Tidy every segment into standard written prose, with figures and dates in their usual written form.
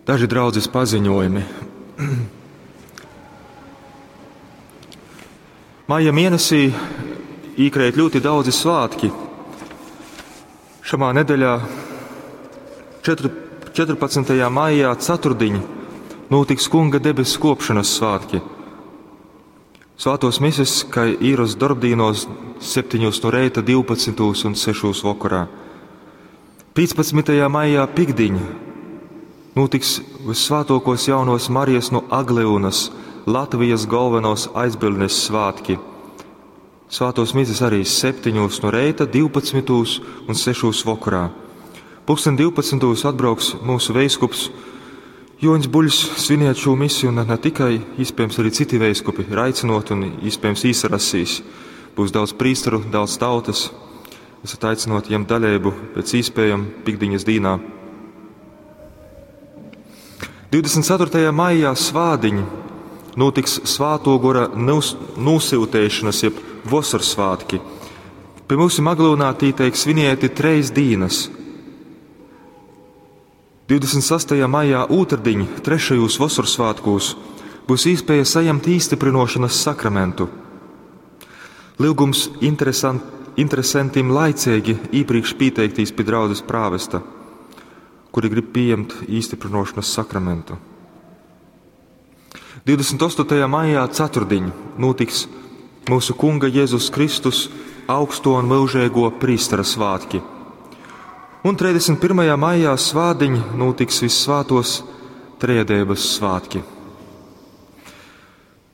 Daži draudzes paziņojumi. Maija mēnesī īkreit ļoti daudzi svētki. Šamā nedēļā 14. maijā ceturtdiņ notiks Kunga debesu kopšanas svētki. Svētos mises, kā īros darbdīnos 7 no reita, 12 un 6 vakarā. 15. maijā pikdiņ notiks vissvētokos jaunos Marijas no Agliunas, Latvijas galvenos aizbildnes svētki. Svētos mises arī 7 no reita, 12 un 6 vakarā. Pulksten 12. atbrauks mūsu veiskups Joņs Buļs sviniet šo misiju, un ne tikai, iespējams, arī citi veiskupi ir aicinot un iespējams īsarasīs. Būs daudz prīsteru, daudz tautas. Esat aicinoti ņemt daļību pēc iespējām pikdiņas dīnā. 24. maijā svādiņ notiks Svāto gora nūsiltēšanas, jeb vasarsvātki. Pie mums Aglūnā tī teik svinieti treis dīnas. 26. maijā ūtrdiņ, trešajos vasarsvātkūs, būs iespēja saņemt īstiprinošanas sakramentu. Lūgums interesantim laicīgi īpriekš pieteiktīs pie draudzes prāvesta, kuri grib pieņemt īstiprinošanas sakramentu. 28. maijā ceturtdiņ notiks mūsu Kunga Jēzus Kristus augsto un mūžīgo prīstera svētki. Un 31. maijā svādiņ notiks vissvētos Trejadības svētki.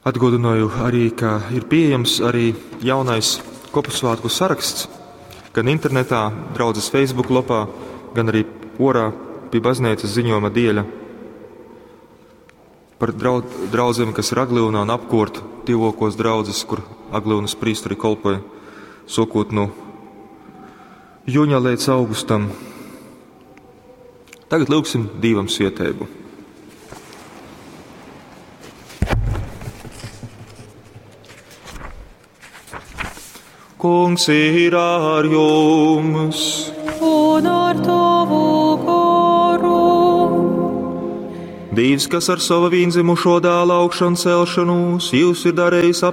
Atgādināju arī, ka ir pieejams arī jaunais kopu svētku saraksts, gan internetā, draudzes Facebook lapā, gan arī orā pie baznīcas ziņojuma dieļa par draudzēm, kas ir Agliūnā un apkort tīvokos draudzes, kur Agliūnas prīsteri kolpoja, sokot no jūņa līdz augustam. Tagad lūgsim Dievam svietēbu. Kungs ir ar jums! Un ar tavu goru. Dievs, kas ar savu vīnzimušo dēlu augšanu celšanos, jūs ir darījis